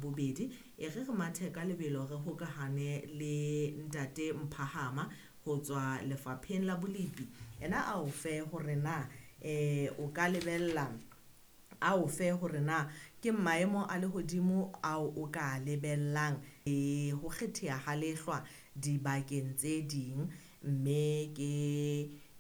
bobedi. E re re mathe ka lebelo re hokahane le ntate Mphahama ho tswa lefapheng la bolepi. Ena a o fe hore na o ka lebella a o fe hore na ke maemo a lehodimo ao o ka lebellang e ho kgetheha ha lehlwa dibakeng tse ding mme ke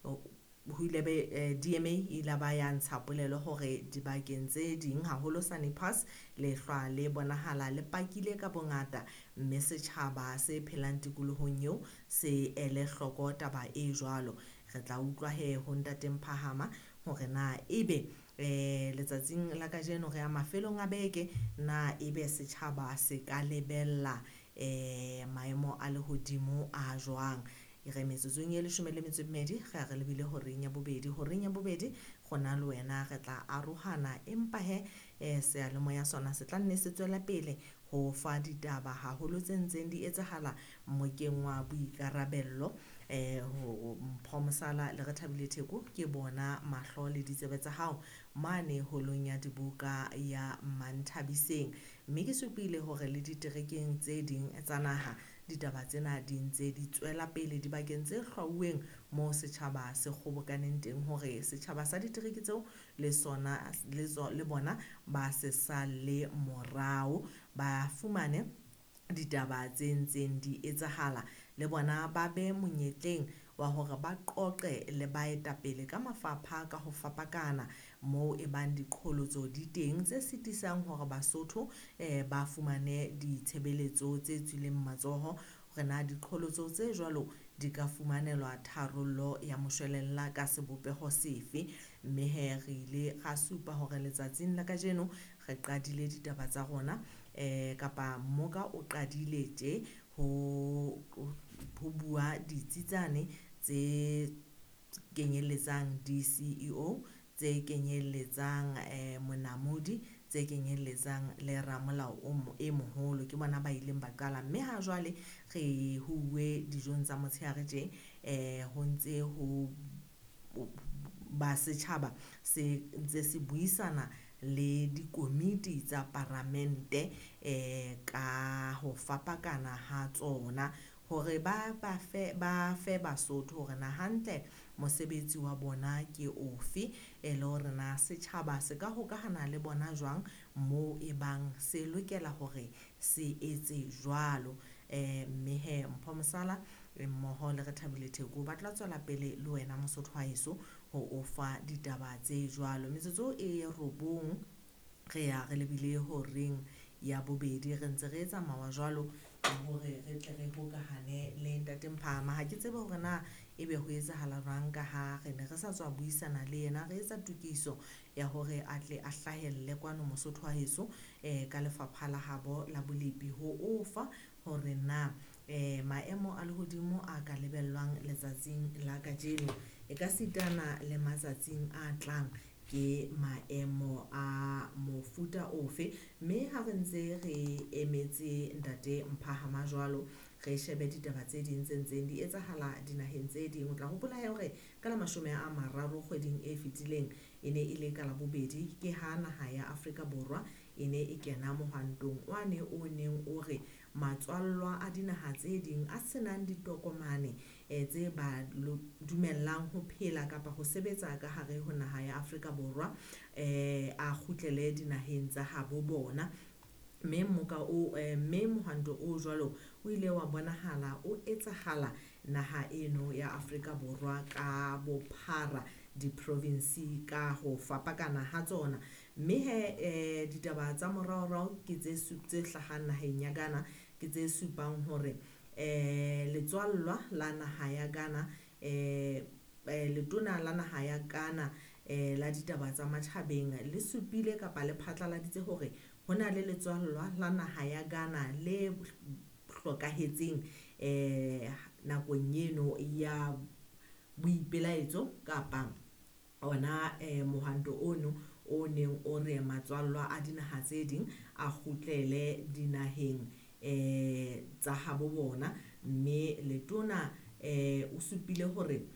ho ile be DMA e ile ba ya ntsha polelo hore dibakeng tse ding haholo Sani Pass lehlwa le bonahala le pakile ka bongata mme setjhaba se phelang tikolohong eo se ele hloko taba e jwalo. Re tla utlwa he ho ntate Mphahama hore na ebe letsatsing la kajeno re ya mafelong a beke na ebe setjhaba se ka lebella maemo a lehodimo a jwang. Re metsotsong e 12 re a re lebile horeng ya bobedi. Horeng ya bobedi rona le wena re tla arohana empa he seyalemoya sona se tla nne se tswela pele ho fa ditaba haholo tse ntseng di etsahala mokeng wa boikarabello. Ho Mpho Mosala le Rethabile Theko ke bona mahlo le ditsebe tsa hao mane holong ya dibuka ya Manthabiseng. Mme ke supile hore le diterekeng tse ding tsa naha ditaba tsena di ntse di tswela pele dibakeng tse hlwauweng moo setjhaba se kgobokaneng teng hore setjhaba sa ditereke tseo le sona le bona ba se sale morao ba fumane ditaba tse ntseng di etsahala le bona ba be monyetleng wa hore ba qoqe le baetapele ka mafapha ka ho fapakana moo e bang diqholotso di teng tse sitisang hore Basotho ba fumane ditshebeletso tse tswileng matsoho hore na diqholotso tse jwalo di ka fumanelwa tharollo ya moshwelella ka sebopeho sefe. Mme he re ile ra supa hore letsatsing la kajeno re qadile ditaba tsa rona kapa mmoka o qadile tje ho bua ditsi tsane tse kenyelletsang DCEO tse kenyelletsang monamodi tse kenyelletsang le ramolao e moholo ke bona ba ileng ba qala mme ha jwale re huwe dijong tsa motshehare tje ho ntse ho ba setjhaba se ntse se buisana le dikomiti tsa paramente ka ho fapakana ha tsona hore ba fe Basotho hore na hantle mosebetsi wa bona ke ofe e le hore na setjhaba se ka hokahana le bona jwang moo e bang se lokela hore se etse jwalo. Mme he Mpho Mosala mmoho le Rethabile Theko ba tla tswela pele le wena Mosotho wa heso ho o fa ditaba tse jwalo. Metsotso e 9 re ya re lebile horeng ya bobedi re ntse re etsa mawa jwalo hore re tle re hokahane le ntate Mphahama. Ha ke tsebe hore na ebe ho etsahala jwang ka ha re ne re sa tswa buisana le yena re etsa tokiso ya hore a tle a hlahelle kwano Mosotho wa heso ka lefapha la habo la bolepi ho o fa hore na maemo a lehodimo a ka lebellwang letsatsing la kajeno e ka sitana le matsatsing a tlang ke maemo a mofuta ofe. Mme ha re ntse re emetse ntate Mphahama jwalo re shebe ditaba tse ding tse ntseng di etsahala dinaheng tse ding. O tla hopola hore ka la 30 kgweding e fetileng e ne e le ka labobedi ke ha naha ya Afrika Borwa e ne e kena mohwantong wane o neng o re matswallwa a dinaha tse ding a senang ditokomane tse ba dumellang ho phela kapa ho sebetsa ka hare ho naha ya Afrika Borwa a kgutlele dinaheng tsa habo bona. Mme moka o mme mohwanto o jwalo o ile wa bonahala o etsahala naha eno ya Afrika Borwa ka bophara di-province ka ho fapakana ha tsona. Mme he ditaba tsa moraorao ke tse hlahang naheng ya Ghana ke tse supang hore letswallwa la naha ya Ghana letona la naha ya Ghana la ditaba tsa matjhabeng le supile kapa le phatlaladitse hore ho na le letswallwa la naha ya Ghana le hlokahetseng nakong eno ya boipelaetso kapa ona mohwanto ono o neng o re matswallwa a dinaha tse ding a kgutlele dinaheng tsa habo bona. Mme letona o supile hore